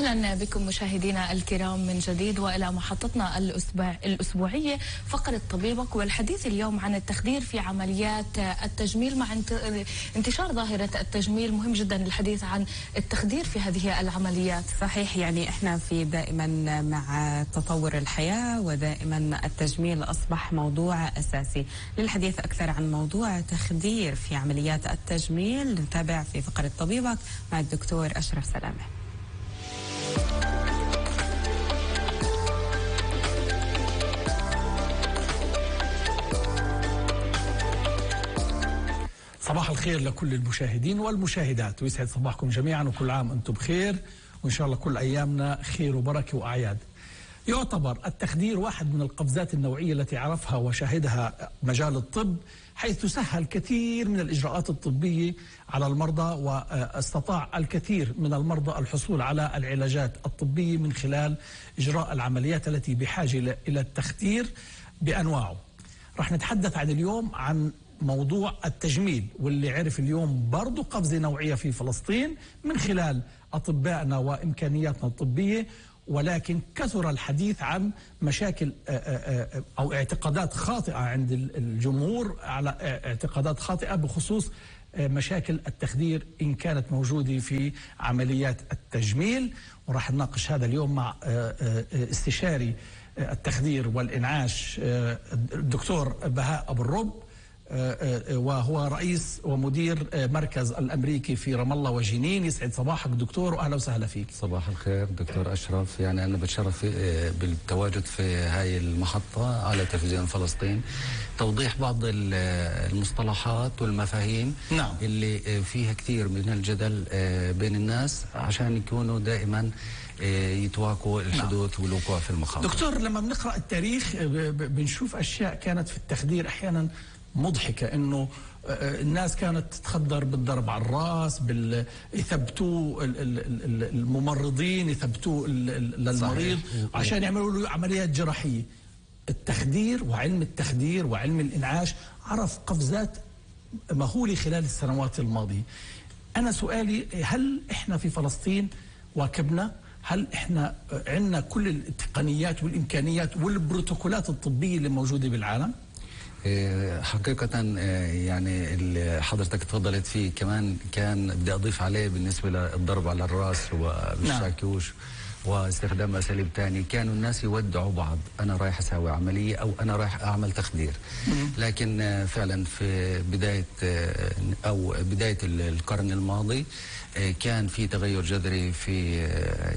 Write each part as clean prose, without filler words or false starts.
أهلا بكم مشاهدينا الكرام من جديد وإلى محطتنا الأسبوعية فقرة طبيبك، والحديث اليوم عن التخدير في عمليات التجميل. مع انتشار ظاهرة التجميل مهم جدا الحديث عن التخدير في هذه العمليات. صحيح، يعني احنا في دائما مع تطور الحياة ودائما التجميل أصبح موضوع أساسي. للحديث أكثر عن موضوع تخدير في عمليات التجميل نتابع في فقرة طبيبك مع الدكتور أشرف سلامة. صباح الخير لكل المشاهدين والمشاهدات، ويسعد صباحكم جميعا وكل عام أنتم بخير، وإن شاء الله كل أيامنا خير وبركة وأعياد. يعتبر التخدير واحد من القفزات النوعية التي عرفها وشهدها مجال الطب، حيث سهل كثير من الإجراءات الطبية على المرضى، واستطاع الكثير من المرضى الحصول على العلاجات الطبية من خلال إجراء العمليات التي بحاجة إلى التخدير بأنواعه. رح نتحدث عن اليوم عن موضوع التجميل، واللي عرف اليوم برضو قفزة نوعية في فلسطين من خلال أطبائنا وإمكانياتنا الطبية، ولكن كثر الحديث عن مشاكل أو اعتقادات خاطئة عند الجمهور، على اعتقادات خاطئة بخصوص مشاكل التخدير إن كانت موجودة في عمليات التجميل. وراح نناقش هذا اليوم مع استشاري التخدير والإنعاش الدكتور بهاء أبو الرب، وهو رئيس ومدير مركز الأمريكي في رام الله وجنين. يسعد صباحك دكتور وأهلا وسهلا فيك. صباح الخير دكتور أشرف، يعني أنا بتشرف بالتواجد في هاي المحطة على تلفزيون فلسطين، توضيح بعض المصطلحات والمفاهيم نعم. اللي فيها كثير من الجدل بين الناس عشان يكونوا دائما يتواكوا الحدوث والوقوع في المخاطر. دكتور، لما بنقرأ التاريخ بنشوف أشياء كانت في التخدير أحيانا مضحكة، انه الناس كانت تتخدر بالضرب على الراس، يثبتوه الممرضين، يثبتوه للمريض عشان يعملوا له عمليات جراحية. التخدير وعلم التخدير وعلم الإنعاش عرف قفزات مهولة خلال السنوات الماضية. أنا سؤالي، هل إحنا في فلسطين واكبنا؟ هل إحنا عندنا كل التقنيات والإمكانيات والبروتوكولات الطبية اللي موجودة بالعالم؟ حقيقة يعني اللي حضرتك تفضلت فيه كمان كان بدي أضيف عليه بالنسبة للضرب على الرأس والشاكوش واستخدام أساليب تاني. كانوا الناس يودعوا بعض، أنا رايح أسوي عملية أو أنا رايح أعمل تخدير. لكن فعلا في بداية القرن الماضي كان في تغير جذري في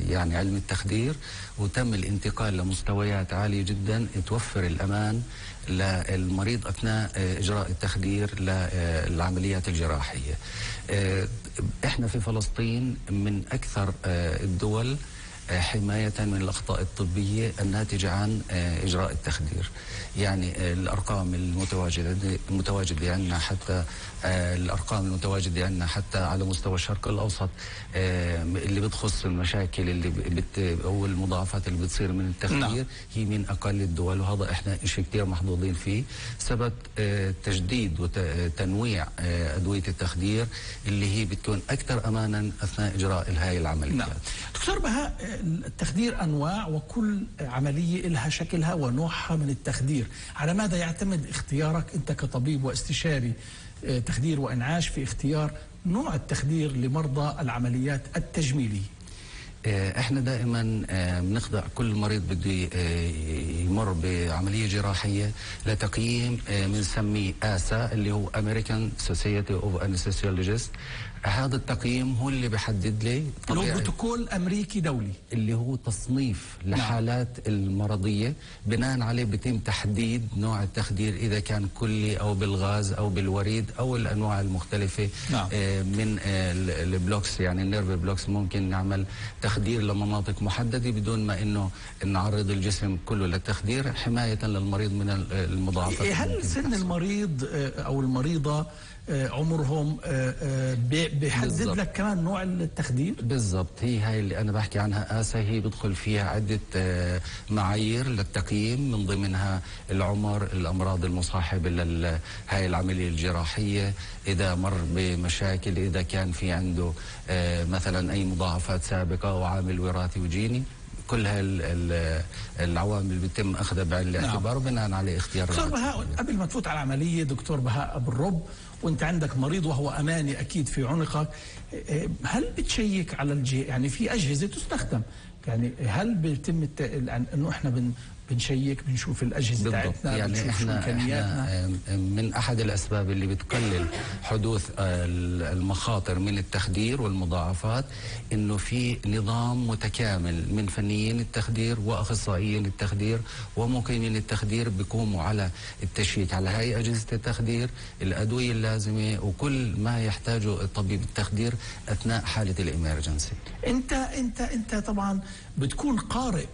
يعني علم التخدير، وتم الانتقال لمستويات عالية جدا توفر الأمان للمريض أثناء إجراء التخدير للعمليات الجراحية. إحنا في فلسطين من أكثر الدول حماية من الأخطاء الطبية الناتجة عن إجراء التخدير. يعني الأرقام المتواجدة عندنا، حتى الأرقام المتواجدة عندنا حتى على مستوى الشرق الأوسط اللي بتخص المشاكل اللي أو المضاعفات اللي بتصير من التخدير هي من أقل الدول، وهذا إحنا شيء كثير محظوظين فيه بسبب تجديد وتنويع أدوية التخدير اللي هي بتكون أكثر أمانا أثناء إجراء هاي العمليات. نعم. دكتور بهاء، التخدير أنواع وكل عملية لها شكلها ونوعها من التخدير. على ماذا يعتمد اختيارك أنت كطبيب واستشاري تخدير وإنعاش في اختيار نوع التخدير لمرضى العمليات التجميلية؟ احنا دائما بنخضع كل مريض بده يمر بعمليه جراحيه لتقييم بنسميه آسا اللي هو American Society of Anesthesiologists. هذا التقييم هو اللي بيحدد لي هو بروتوكول أمريكي دولي اللي هو تصنيف لحالات المرضية، بناء عليه بيتم تحديد نوع التخدير إذا كان كلي أو بالغاز أو بالوريد أو الأنواع المختلفة. من البلوكس، يعني النيرف بلوكس، ممكن نعمل تخدير لمناطق محددة بدون ما إنه نعرض الجسم كله للتخدير حماية للمريض من المضاعفات. هل سن المريض أو المريضة عمرهم بيحدد لك كمان نوع التخدير؟ بالضبط، هي هاي اللي أنا بحكي عنها آسا، هي بدخل فيها عدة معايير للتقييم، من ضمنها العمر، الأمراض المصاحبة لهاي العملية الجراحية، إذا مر بمشاكل، إذا كان في عنده مثلا أي مضاعفات سابقة أو عامل وراثي وجيني. كل هاي العوامل بيتم أخذها بعين الاعتبار وبناء على اختيار. دكتور بهاء، قبل ما تفوت على العملية، دكتور بهاء أبو الرب، وانت عندك مريض وهو أماني أكيد في عنقك، هل بتشيك على يعني في أجهزة تستخدم، يعني هل بيتم انه احنا بنشيك، بنشوف الأجهزة بتاعتنا، يعني بنشوف احنا من أحد الأسباب اللي بتقلل حدوث المخاطر من التخدير والمضاعفات إنه في نظام متكامل من فنيين التخدير وأخصائيين التخدير ومقيمين التخدير بيقوموا على التشيك على هاي أجهزة التخدير، الأدوية اللازمة وكل ما يحتاجه الطبيب التخدير أثناء حالة الإمرجنسي. انت طبعا بتكون قارئ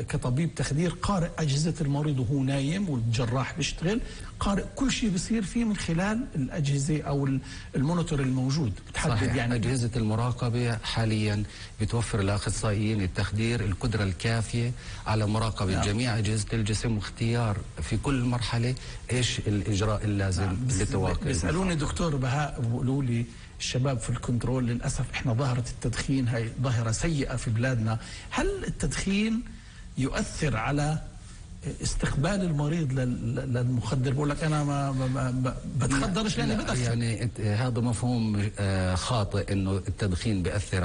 كطبيب تخدير، قارئ أجهزة المريض وهو نايم والجراح بيشتغل، قارئ كل شيء بيصير فيه من خلال الأجهزة أو المونيتور الموجود. بتحدد صحيح. يعني أجهزة المراقبة حاليا بتوفر لأخصائيين التخدير القدرة الكافية على مراقبة جميع أجهزة الجسم واختيار في كل مرحلة إيش الإجراء اللازم لتواقع. بيسألوني دكتور بهاء، بيقولوا لي الشباب في الكنترول للأسف إحنا ظاهرة التدخين هاي ظاهرة سيئة في بلادنا، هل التدخين يؤثر على استقبال المريض للمخدر؟ بقول لك أنا ما بتخدرش لأني بدخن. يعني هذا مفهوم خاطئ إنه التدخين بيأثر